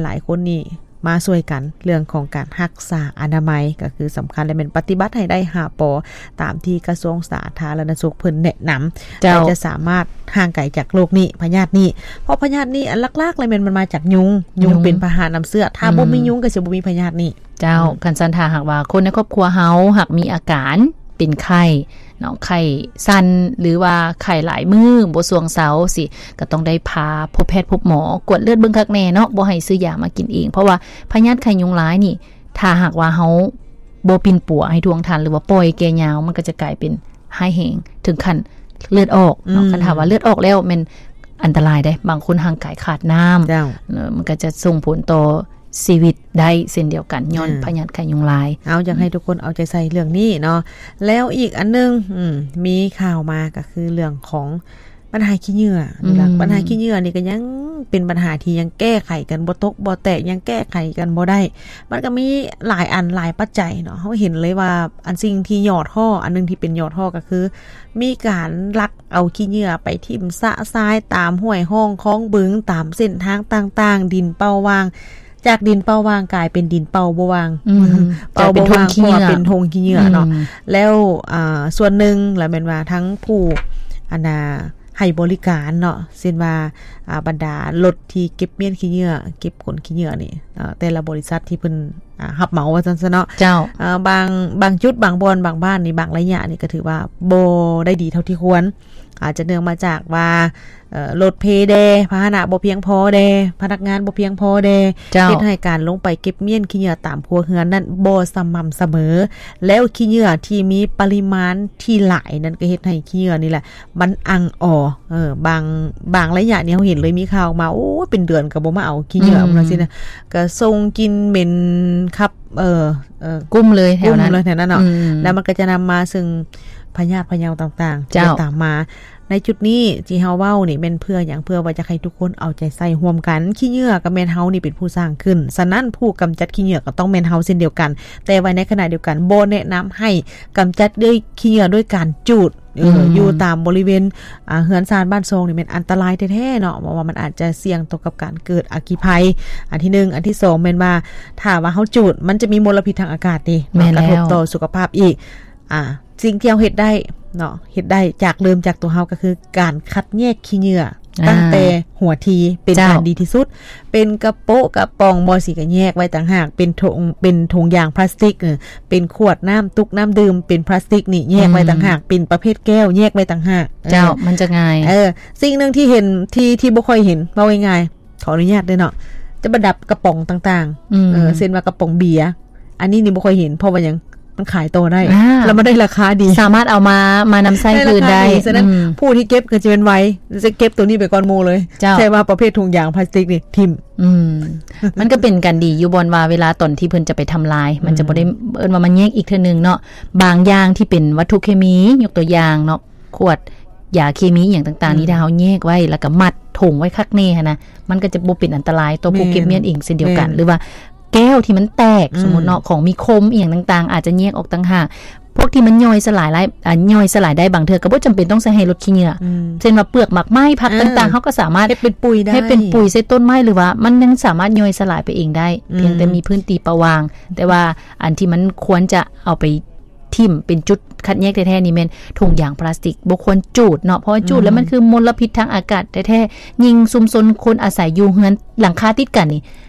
ຫຼາຍໆຄົນນີ້ມາຊ່ວຍກັນເລື່ອງຂອງການຮັກສາອະນາໄມ ກໍຄືສຳຄັນ ແລະ ແມ່ນປະຕິບັດໃຫ້ໄດ້ຫ້າ ປ ຕາມທີ່ກະຊວງສາທາລະນະສຸກເພິ່ນແນະນຳ ເຈົ້າ ກໍຈະສາມາດຫ່າງໄກຈາກໂລກນີ້ ພະຍາດນີ້ ເພາະພະຍາດນີ້ອັນຫຼັກໆ ແລ້ວແມ່ນມັນມາຈາກຍຸງ ຍຸງ ຍຸງເປັນພາຫະນຳເຊື້ອ ຖ້າ ອືມ ບໍ່ມີຍຸງກໍຊິບໍ່ມີພະຍາດນີ້. ເຈົ້າ ອືມ ຄັນຊັ້ນຖ້າຫາກວ່າຄົນໃນຄອບຄົວເຮົາຫາກມີອາການເປັນໄຂ້ເນາະ ໄຂ້ສັ່ນ ຫຼືວ່າໄຂ້ຫຼາຍມື້ບໍ່ຊ່ວງເຊົາຊີ້ ກໍຕ້ອງໄດ້ພາພົບແພດພົບໝໍ ກວດເລືອດເບິ່ງຄັກແນ່ເນາະ ບໍ່ໃຫ້ຊື້ຢາມາກິນເອງ ເພາະວ່າພະຍາດໄຂ້ຍຸງລາຍນີ້ ຖ້າຫາກວ່າເຮົາບໍ່ປິ່ນປົວໃຫ້ທ່ວງທັນ ຫຼືວ່າປ່ອຍແກ່ຍາວ ມັນກໍຈະກາຍເປັນຮ້າຍແຮງເຖິງຂັ້ນເລືອດອອກເນາະ ອືມ ຄັນຖ້າວ່າເລືອດອອກແລ້ວແມ່ນອັນຕະລາຍເດ້ ບາງຄົນຮ່າງກາຍຂາດນ້ຳ ເຈົ້າ ເນາະ ມັນກໍຈະສົ່ງຜົນຕໍ່ ຊີວິດໄດ້ເຊັ່ນດຽວກັນ ຍ້ອນ ອ່າ ພະຍາດໄຂ້ຍຸງລາຍ. ເອົາ ຢາກໃຫ້ ອືມ ທຸກຄົນເອົາໃຈໃສ່ເລື່ອງນີ້ເນາະ. ແລ້ວອີກອັນໜຶ່ງ ອືມ ມີຂ່າວມາກໍຄືເລື່ອງຂອງບັນຫາຂີ້ເຫຍື້ອນີ້ລະ. ອືມ ບັນຫາຂີ້ເຫຍື້ອນີ້ກໍຍັງເປັນບັນຫາທີ່ຍັງແກ້ໄຂກັນບໍ່ຕົກບໍ່ແຕກ ຍັງແກ້ໄຂກັນບໍ່ໄດ້. ມັນກໍມີຫຼາຍອັນຫຼາຍປັດໄຈເນາະ. ເຮົາເຫັນເລີຍວ່າອັນສິ່ງທີ່ຫຍໍ້ທໍ້ ອັນໜຶ່ງທີ່ເປັນຫຍໍ້ທໍ້ກໍຄື ມີການລັກເອົາຂີ້ເຫຍື້ອໄປຖິ້ມຊະຊາຍຕາມຫ້ວຍຮ່ອງຄອງບຶງ ຕາມເສັ້ນທາງຕ່າງໆ ດິນເປົ່າຫວ່າງ ຈາກດິນເປົ່າຫວ່າງກາຍເປັນດິນເປົ່າບໍ່ຫວ່າງ ອືມ ເປົ່າບໍ່ຫວ່າງ ກາຍເປັນຖົງຂີ້ເຫຍື້ອ ເພາະວ່າເປັນຖົງຂີ້ເຫຍື້ອເນາະ. ອືມ ແລ້ວ ອ່າ ສ່ວນໜຶ່ງລະແມ່ນວ່າທັງຜູ້ ອັນນ່າ ໃຫ້ບໍລິການເນາະ ເຊັ່ນວ່າ ອ່າ ບັນດາລົດທີ່ເກັບມ້ຽນຂີ້ເຫຍື້ອ ເກັບຂົນຂີ້ເຫຍື້ອນີ້ ເອີ ແຕ່ລະບໍລິສັດທີ່ເພິ່ນ ອ່າ ຮັບເໝົາວ່າຊັ້ນຊະເນາະ ເຈົ້າ ເອີ ບາງ ບາງຈຸດ ບາງບ່ອນ ບາງບ້ານນີ້ ບາງໄລຍະນີ້ກໍຖືວ່າບໍ່ໄດ້ດີເທົ່າທີ່ຄວນ ອາດຈະເນື່ອງມາຈາກວ່າ ເອີ ລົດເພແດ່ ພາຫະນະບໍ່ພຽງພໍແດ່ ພະນັກງານບໍ່ພຽງພໍແດ່ ເຈົ້າ ເຮັດໃຫ້ການລົງໄປເກັບມ້ຽນຂີ້ເຫຍື້ອຕາມຄົວເຮືອນນັ້ນບໍ່ສະໝ່ຳສະເໝີ ແລ້ວຂີ້ເຫຍື້ອທີ່ມີປະລິມານທີ່ຫຼາຍນັ້ນກໍເຮັດໃຫ້ຂີ້ເຫຍື້ອນີ້ແຫຼະ ມັນອັ່ງອໍ ເອີ ບາງ ບາງໄລຍະນີ້ເຮົາເຫັນເລີຍມີຂ່າວອອກມາ ໂອ້ຍ ເປັນເດືອນກໍບໍ່ມາເອົາຂີ້ເຫຍື້ອ ອືມ ຈັ່ງຊີ້ນະ ກໍສົ່ງກິ່ນເໝັນຄັບ ເອີ ເອີ ກຸ້ມເລີຍແຖວນັ້ນ ກຸ້ມເລີຍແຖວນັ້ນເນາະ ອືມ ແລ້ວມັນກໍຈະນຳມາເຊິ່ງພະຍາດພະເຍົາຕ່າງໆ ເຈົ້າ ທີ່ຈະຕາມມາ. ໃນຈຸດນີ້ທີ່ເຮົາເວົ້ານີ້ແມ່ນເພື່ອຫຍັງ? ເພື່ອວ່າຈະໃຫ້ທຸກຄົນເອົາໃຈໃສ່ຮ່ວມກັນ ຂີ້ເຫຍື້ອກໍແມ່ນເຮົານີ້ເປັນຜູ້ສ້າງຂຶ້ນ ສະນັ້ນຜູ້ກຳຈັດຂີ້ເຫຍື້ອກໍຕ້ອງແມ່ນເຮົາເຊັ່ນດຽວກັນ ແຕ່ວ່າໃນຂະນະດຽວກັນບໍ່ແນະນຳໃຫ້ກຳຈັດດ້ວຍຂີ້ເຫຍື້ອດ້ວຍການຈູດ ເອີ ອືມ ຢູ່ຕາມບໍລິເວນ ອ່າ ເຮືອນຊານບ້ານຊ່ອງນີ້ແມ່ນອັນຕະລາຍແທ້ໆເນາະ ເພາະວ່າມັນອາດຈະສ່ຽງຕໍ່ກັບການເກີດອັກຄີໄພ ອັນທີໜຶ່ງ. ອັນທີສອງແມ່ນວ່າ ຖ້າວ່າເຮົາຈູດ ມັນຈະມີມົນລະພິດທາງອາກາດເດ້ ແມ່ນແລ້ວ ກະທົບຕໍ່ສຸຂະພາບອີກ. ອ່າ ສິ່ງທີ່ເຮົາເຮັດໄດ້ເນາະ ເຮັດໄດ້ຈາກ ເລີ່ມຈາກຕົວເຮົາ ກໍຄືການຄັດແຍກຂີ້ເຫຍື້ອ ອ່າ ຕັ້ງແຕ່ຫົວທີ ເປັນ ເຈົ້າ ການດີທີ່ສຸດ ເປັນກະໂປະກະປ໋ອງບໍ່ ຊິກະແຍກໄວ້ຕ່າງຫາກ ເປັນຖົງ ເປັນຖົງຢາງພລາສຕິກ ເອີ ເປັນຂວດນ້ຳ ຕຸກນ້ຳດື່ມເປັນພລາສຕິກນີ້ແຍກໄວ້ຕ່າງຫາກ ອືມ ເປັນປະເພດແກ້ວແຍກໄວ້ຕ່າງຫາກ ເຈົ້າ ເອີ ມັນຈະງ່າຍ ເອີ ສິ່ງໜຶ່ງທີ່ເຫັນ ທີ່ ທີ່ບໍ່ຄ່ອຍເຫັນ ເວົ້າງ່າຍໆ ຂໍອະນຸຍາດເດີເນາະ ຈະປະດັບກະປ໋ອງຕ່າງໆ ອືມ ເອີ ເຊັ່ນວ່າກະປ໋ອງເບຍ ອັນນີ້ນີ້ບໍ່ຄ່ອຍເຫັນ ເພາະວ່າຫຍັງ? ມັນຂາຍຕໍ່ໄດ້ ອ່າ ແລ້ວມັນໄດ້ລາຄາດີ ສາມາດເອົາມາ ມານຳໃຊ້ຄືນໄດ້ ໄດ້ລາຄາດີ ສະນັ້ນ ອືມ ຜູ້ທີ່ເກັບກໍຈະແມ່ນໄວ ຈະເກັບໂຕນີ້ໄປກ່ອນໝູ່ເລີຍ ເຈົ້າ ແຕ່ວ່າປະເພດຖົງຢາງພລາສຕິກນີ້ຖິ້ມ ອືມ ມັນກໍເປັນການດີຢູ່ບ່ອນວ່າເວລາຕອນທີ່ເພິ່ນຈະໄປທຳລາຍ ມັນຈະບໍ່ໄດ້ ອືມ ເອີ້ນວ່າມາແຍກອີກເທື່ອໜຶ່ງເນາະ ບາງຢ່າງທີ່ເປັນວັດຖຸເຄມີ ຍົກຕົວຢ່າງເນາະ ຂວດຢາເຄມີອີ່ຫຍັງຕ່າງໆນີ້ ອືມ ຖ້າເຮົາແຍກໄວ້ ແລ້ວກໍມັດຖົງໄວ້ຄັກແນ່ຫັ້ນນະ ມັນກໍຈະບໍ່ເປັນອັນຕະລາຍຕໍ່ຜູ້ ແມ່ນ ເກັບມ້ຽນເອງເຊັ່ນດຽວກັນ ແມ່ນ ຫຼືວ່າ ແກ້ວທີ່ມັນແຕກ ອືມ ສົມມຸດເນາະ ຂອງມີຄົມອີ່ຫຍັງຕ່າງໆ ອາດຈະແຍກອອກຕ່າງຫາກ ພວກທີ່ມັນຍ່ອຍສະຫຼາຍຫຼາຍ ອ່າ ຍ່ອຍສະຫຼາຍໄດ້ ບາງເທື່ອກໍບໍ່ຈຳເປັນຕ້ອງໃສ່ໃຫ້ລົດຂີ້ເຫຍື້ອ ອືມ ເຊັ່ນວ່າເປືອກໝາກໄມ້ ຜັກ ອ່າ ຕ່າງໆ ເຮົາກໍສາມາດເຮັດເປັນປຸຍໄດ້ ເຮັດເປັນປຸຍໃສ່ຕົ້ນໄມ້ ຫຼືວ່າມັນຍັງສາມາດຍ່ອຍສະຫຼາຍໄປເອງໄດ້ ອືມ ພຽງແຕ່ມີພື້ນທີ່ປະຫວ່າງ ແຕ່ວ່າອັນທີ່ມັນຄວນຈະເອົາໄປ ຖິ້ມເປັນຈຸດຄັດແຍກແທ້ໆນີ້ແມ່ນຖົງຢາງພລາສຕິກ ບໍ່ຄວນຈູດເນາະ ເພາະວ່າຈູດແລ້ວ ອືມ ມັນຄືມົນລະພິດທາງອາກາດແທ້ໆ ຍິ່ງຊຸມຊົນຄົນອາໄສຢູ່ເຮືອນຫຼັງຄາຕິດກັນນີ້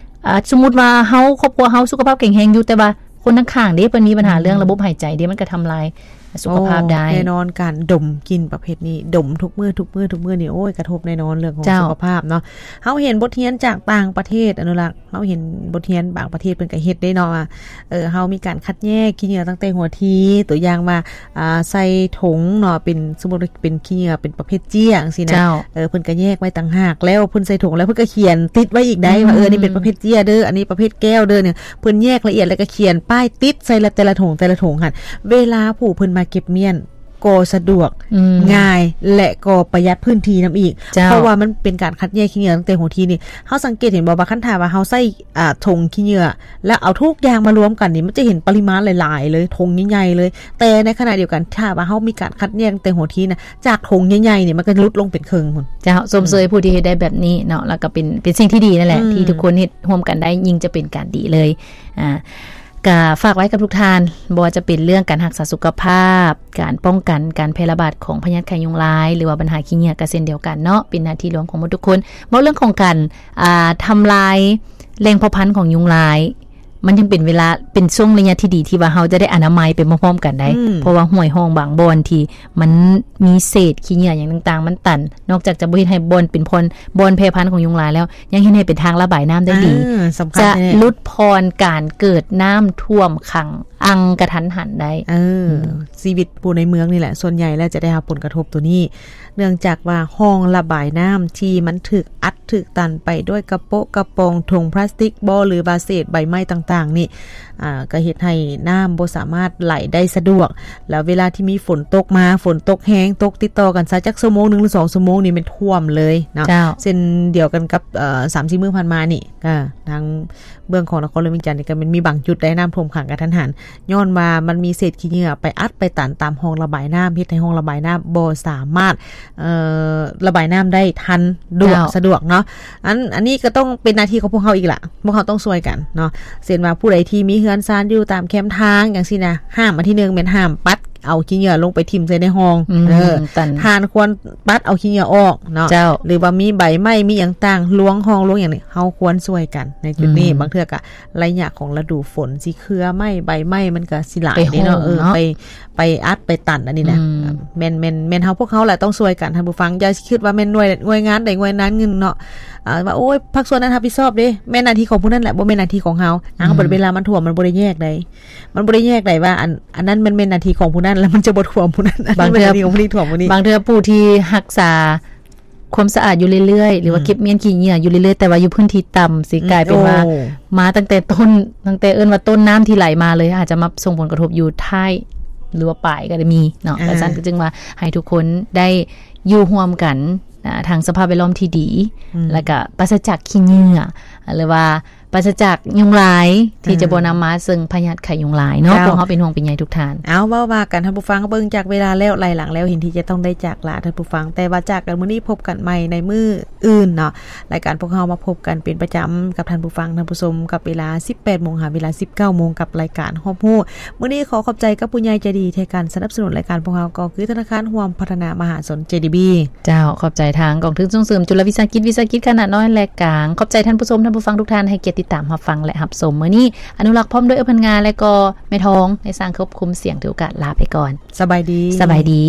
ອ່າ ສົມມຸດວ່າເຮົາ ຄອບຄົວເຮົາສຸຂະພາບແຂງແຮງຢູ່ ແຕ່ວ່າຄົນຂ້າງໆເດ້ ເພິ່ນມີບັນຫາ ອືມ ເລື່ອງລະບົບຫາຍໃຈເດ້ ມັນກໍທຳລາຍສຸຂະພາບໄດ້ ໂອ້ ແນ່ນອນ ການດົມກິ່ນປະເພດນີ້ ດົມທຸກມື້ ທຸກມື້ ທຸກມື້ນີ້ ໂອ້ຍ ກະທົບແນ່ນອນເລື່ອງຂອງ ເຈົ້າ ສຸຂະພາບເນາະ ເຮົາເຫັນບົດຮຽນຈາກຕ່າງປະເທດ ອະນຸລັກ ເຮົາເຫັນບົດຮຽນບາງປະເທດເພິ່ນກໍເຮັດເດ້ເນາະ ວ່າ ເອີ ເຮົາມີການຄັດແຍກຂີ້ເຫຍື້ອຕັ້ງແຕ່ຫົວທີ ຕົວຢ່າງວ່າ ອ່າ ໃສ່ຖົງເນາະ ເປັນ ສົມມຸດວ່າເປັນຂີ້ເຫຍື້ອເປັນປະເພດເຈ້ຍຈັ່ງຊີ້ນະ ເຈົ້າ ເອີ ເພິ່ນກໍແຍກໄວ້ຕ່າງຫາກ ແລ້ວເພິ່ນໃສ່ຖົງແລ້ວເພິ່ນກໍຂຽນຕິດໄວ້ອີກໄດ້ ອືມ ວ່າ ເອີ ນີ້ເປັນປະເພດເຈ້ຍເດີ ອັນນີ້ປະເພດແກ້ວເດີ ນີ້ ເພິ່ນແຍກລະອຽດ ແລ້ວກໍຂຽນປ້າຍຕິດໃສ່ລະ ແຕ່ລະຖົງ ແຕ່ລະຖົງຫັ້ນ ເວລາຜູ້ເພິ່ນມາເກັບມ້ຽນ ກໍສະດວກ ອືມ ງ່າຍ ແລະ ກໍປະຢັດພື້ນທີ່ນຳອີກ ເຈົ້າ ເພາະວ່າມັນເປັນການຄັດແຍກຂີ້ເຫຍື້ອຕັ້ງແຕ່ຫົວທີນີ້. ເຮົາສັງເກດເຫັນບໍ່ວ່າ ຄັນຖ້າວ່າເຮົາໃຊ້ ອ່າ ຖົງຂີ້ເຫຍື້ອ ແລ້ວເອົາທຸກຢ່າງມາລວມກັນນີ້ ມັນຈະເຫັນປະລິມານຫຼາຍໆເລີຍ ຖົງໃຫຍ່ໆເລີຍ. ແຕ່ໃນຂະນະດຽວກັນ ຖ້າວ່າເຮົາມີການຄັດແຍກຕັ້ງແຕ່ຫົວທີນະ ຈາກຖົງໃຫຍ່ໆນີ້ ມັນກໍຫຼຸດລົງເປັນເຄິ່ງພຸ້ນ. ເຈົ້າ ຊົມເຊີຍ ອືມ ຜູ້ທີ່ເຮັດໄດ້ແບບນີ້ເນາະ ແລ້ວກໍເປັນ ເປັນສິ່ງທີ່ດີນັ້ນແຫຼະ ອືມ ທີ່ທຸກຄົນເຮັດຮ່ວມກັນໄດ້ ຍິ່ງຈະເປັນການດີເລີຍ. ອ່າ ກະຝາກໄວ້ກັບທຸກທ່ານ ບໍ່ວ່າຈະເປັນເລື່ອງການຮັກສາສຸຂະພາບ, ການປ້ອງກັນການແຜ່ລະບາດຂອງພະຍາດໄຂ້ຍຸງລາຍ ຫຼືວ່າບັນຫາຂີ້ເຫຍື້ອກໍເຊັ່ນດຽວກັນເນາະ, ເປັນໜ້າທີ່ລວມຂອງໝົດທຸກຄົນ. ເວົ້າເລື່ອງຂອງການ ອ່າ ທຳລາຍແຫຼ່ງເຜົ່າພັນຂອງຍຸງລາຍ ມັນຍັງເປັນເວລາ ເປັນຊ່ວງໄລຍະທີ່ດີທີ່ວ່າເຮົາຈະໄດ້ອະນາໄມໄປພ້ອມໆກັນໄດ້ ອືມ ເພາະວ່າຫ້ວຍຮ່ອງບາງບ່ອນທີ່ມັນມີເສດຂີ້ເຫຍື້ອຫຍັງຕ່າງໆ ມັນຕັນ, ນອກຈາກຈະບໍ່ເຮັດໃຫ້ບ່ອນເປັນບ່ອນ ບ່ອນແຜ່ພັນຂອງຍຸງລາຍແລ້ວ ຍັງເຮັດໃຫ້ເປັນທາງລະບາຍນ້ຳໄດ້ດີ ເອີ ສຳຄັນ ຈະ ແທ້ ຫຼຸດຜ່ອນການເກີດນ້ຳຖ້ວມຂັງອັ່ງກະທັນຫັນໄດ້. ເອີ ອືມ ຊີວິດຜູ້ໃນເມືອງນີ້ແຫຼະ ສ່ວນໃຫຍ່ແລ້ວຈະໄດ້ຮັບຜົນກະທົບໂຕນີ້ ເນື່ອງຈາກວ່າຮ່ອງລະບາຍນ້ຳທີ່ມັນຖືກອັດຖືກຕັນໄປດ້ວຍກະໂປະກະປອງ ຖົງພລາສຕິກບໍ ຫຼືວ່າເສດໃບໄມ້ຕ່າງໆນີ້ ອ່າ ກໍເຮັດໃຫ້ນ້ຳບໍ່ສາມາດໄຫຼໄດ້ສະດວກ ແລ້ວເວລາທີ່ມີຝົນຕົກມາ ຝົນຕົກແຮງ ຕົກຕິດຕໍ່ກັນຊະຈັກຊົ່ວໂມງໜຶ່ງ ຫຼື ສອງຊົ່ວໂມງນີ້ແມ່ນຖ້ວມເລີຍເນາະ. ເຈົ້າ ເຊັ່ນດຽວກັນກັບ ເອີ ສາມສີ່ມື້ຜ່ານມານີ້ ກໍທາງເບື້ອງຂອງນະຄອນຫຼວງວຽງຈັນນີ້ ກໍແມ່ນມີບາງຈຸດໄດ້ນ້ຳຖ້ວມຂັງກະທັນຫັນ ຍ້ອນວ່າມັນມີເສດຂີ້ເຫຍື້ອໄປອັດໄປຕັນຕາມຮ່ອງລະບາຍນ້ຳ ເຮັດໃຫ້ຮ່ອງລະບາຍນ້ຳບໍ່ສາມາດ ເອີ ລະບາຍນ້ຳໄດ້ທັນ ດວກ ເຈົ້າ ສະດວກເນາະ. ອັນ ອັນນີ້ກໍຕ້ອງເປັນໜ້າທີ່ຂອງພວກເຮົາອີກລະ ພວກເຮົາຕ້ອງຊ່ວຍກັນເນາະ. ເຊັ່ນວ່າຜູ້ໃດທີ່ມີເຮືອນຊານຢູ່ຕາມແຄມທາງຈັ່ງຊີ້ນະ ຫ້າມ ອັນທີໜຶ່ງແມ່ນຫ້າມປັດເອົາຂີ້ເຫຍື້ອລົງໄປຖິ້ມໃສ່ໃນຮ່ອງ ອືມ ເອີ ຕັນ ທ່ານຄວນປັດເອົາຂີ້ເຫຍື້ອອອກເນາະ ເຈົ້າ ຫຼືວ່າມີໃບໄມ້ມີຫຍັງຕ່າງລວງຮ່ອງລວງຫຍັງນີ້ ເຮົາຄວນຊ່ວຍກັນໃນຈຸດນີ້ ອືມ ບາງເທື່ອກໍໄລຍະຂອງລະດູຝົນ ຊິເຄືອໄມ້ໃບໄມ້ມັນກໍຊິຫຼາຍເດ້ເນາະ ໄປໂຮມ ເອີ ເນາະ ໄປ ໄປອັດໄປຕັນອັນນີ້ນະ ອືມ ແມ່ນ ແມ່ນ ແມ່ນເຮົາ ພວກເຮົາແຫຼະຕ້ອງຊ່ວຍກັນ ທ່ານຜູ້ຟັງ. ຢ່າຄິດວ່າແມ່ນໜ່ວຍ ໜ່ວຍງານໃດໜ່ວຍງານໜຶ່ງເນາະ ອ່າ ວ່າ ໂອ້ຍ ພາກສ່ວນນັ້ນຮັບຜິດຊອບເດ້ ແມ່ນໜ້າທີ່ຂອງຜູ້ນັ້ນແຫຼະ ບໍ່ແມ່ນໜ້າທີ່ຂອງເຮົາ. ອືມ ເຮົາບັດເວລາມັນຖ້ວມ ມັນບໍ່ໄດ້ແຍກໃດ ມັນບໍ່ໄດ້ແຍກໃດວ່າ ອັນ ອັນນັ້ນມັນແມ່ນໜ້າທີ່ຂອງຜູ້ນັ້ນ ແລ້ວມັນຈະບໍ່ຖ້ວມຜູ້ນັ້ນ ອັນນີ້ແມ່ນໜ້າທີ່ຂອງຜູ້ນີ້ ຖ້ວມຜູ້ນີ້. ບາງເທື່ອຜູ້ທີ່ຮັກສາ ຄວາມສະອາດຢູ່ເລື້ອຍໆ ຫຼືວ່າ ອືມ ເກັບມ້ຽນຂີ້ເຫຍື້ອຢູ່ເລື້ອຍໆ ແຕ່ວ່າຢູ່ພື້ນທີ່ຕ່ຳ ຊິ ອືມ ກາຍເປັນວ່າ ໂອ້ ມາຕັ້ງແຕ່ຕົ້ນ ຕັ້ງແຕ່ເອີ້ນວ່າຕົ້ນນ້ຳທີ່ໄຫຼມາເລີຍ ອາດຈະມາສົ່ງຜົນກະທົບຢູ່ທ້າຍ ຫຼືວ່າປາຍກໍໄດ້ມີເນາະ. ອ່າ ຈັ່ງຊັ້ນກໍຈຶ່ງວ່າໃຫ້ທຸກຄົນໄດ້ຢູ່ຮ່ວມກັນ ອ່າ ທາງສະພາບແວດລ້ອມທີ່ດີ ອືມ ແລ້ວກໍປາສະຈາກຂີ້ເຫຍື້ອ ຫຼືວ່າ ປາສະຈາກຍຸງລາຍ ທີ່ຈະ ອ່າ ບໍ່ນຳມາເຊິ່ງພະຍາດໄຂ້ຍຸງລາຍເນາະ. ເຈົ້າ ພວກເຮົາເປັນຫ່ວງເປັນໃຍທຸກທ່ານ. ເອົາ ເວົ້າວ່າກັນ ທ່ານຜູ້ຟັງ ເບິ່ງຈາກເວລາແລ້ວ ໄລ່ຫຼັງແລ້ວ ເຫັນທີ່ຈະຕ້ອງໄດ້ຈາກລາ ທ່ານຜູ້ຟັງ ແຕ່ວ່າຈາກກັນມື້ນີ້ ພົບກັນໃໝ່ໃນມື້ອື່ນເນາະ. ລາຍການພວກເຮົາມາພົບກັນເປັນປະຈຳກັບທ່ານຜູ້ຟັງ ທ່ານຜູ້ຊົມ ກັບເວລາ ສິບແປດໂມງ ຫາເວລາ ສິບເກົ້າໂມງ ກັບລາຍການຮອບຮູ້. ມື້ນີ້ຂໍຂອບໃຈກັບຜູ້ໃຫຍ່ໃຈດີ ທີ່ໃຫ້ການສະໜັບສະໜູນລາຍການພວກເຮົາ ກໍຄືທະນາຄານຮ່ວມພັດທະນາມະຫາຊົນ ເຈດີບີ. ເຈົ້າ ຂອບໃຈທາງກອງທຶນສົ່ງເສີມຈຸລະວິສາຫະກິດ ວິສາຫະກິດຂະໜາດນ້ອຍ ແລະ ກາງ. ຂອບໃຈທ່ານຜູ້ຊົມ ທ່ານຜູ້ຟັງທຸກທ່ານ ໃຫ້ກຽດຕິດຕາມຮັບຟັງ ແລະ ຮັບຊົມ. ມື້ນີ້ ອະນຸລັກ ພ້ອມດ້ວຍ ເອື້ອພັນງາ ແລະ ກໍແມ່ທອງ ໃນສ້າງຄວບຄຸມສຽງ ຖືໂອກາດລາໄປກ່ອນ. ສະບາຍດີ. ສະບາຍດີ.